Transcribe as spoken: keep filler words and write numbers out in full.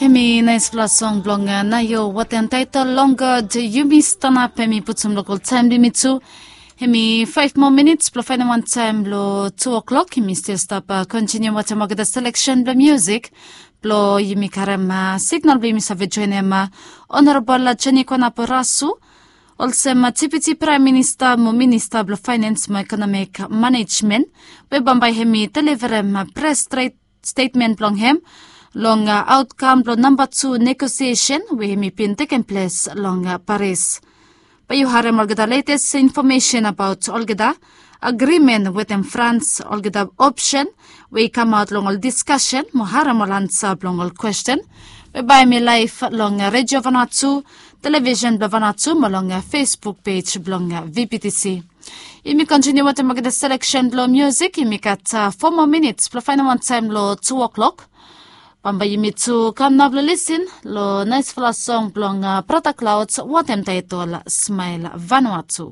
Hemi naispela song blong naio watem taitol long god yumi stanap hemi putum lokol taim blong yumi tu. Hemi faif moa minits blong fainem wan taim blong tu o'klok yumi stil stap kontiniu watem olgeta seleksen blong musik blong yumi karim signal blong yumi save joinim honorabol jeni kwanapo rasu, olsem tipiti praim minista mo minista blong fainens mo ekonomik manejmen, we bambae hemi deliverim pres stret stetmen blong hem long aotkam blong namba tu negosiesen we hemi bin tekem ples long paris. Bae yu harim olgeta letes infomesen abaot olgeta agrimen wetem frans, olgeta opsen we i kamaot long ol diskasen mo harim ol ansa blong ol kwesten we bae hemi laef long redio vanua tu, televisen blong vanua tu mo long facebook pej blong vptc. Yumi kontiniu watem olgeta seleksen blong musik yumi gat fo moa minits blong fainem wan taim long tu o'klok. Bambae yumi tu kam nao blong lisin long naispela song blong brata klaud watem taitol smael vanua tu.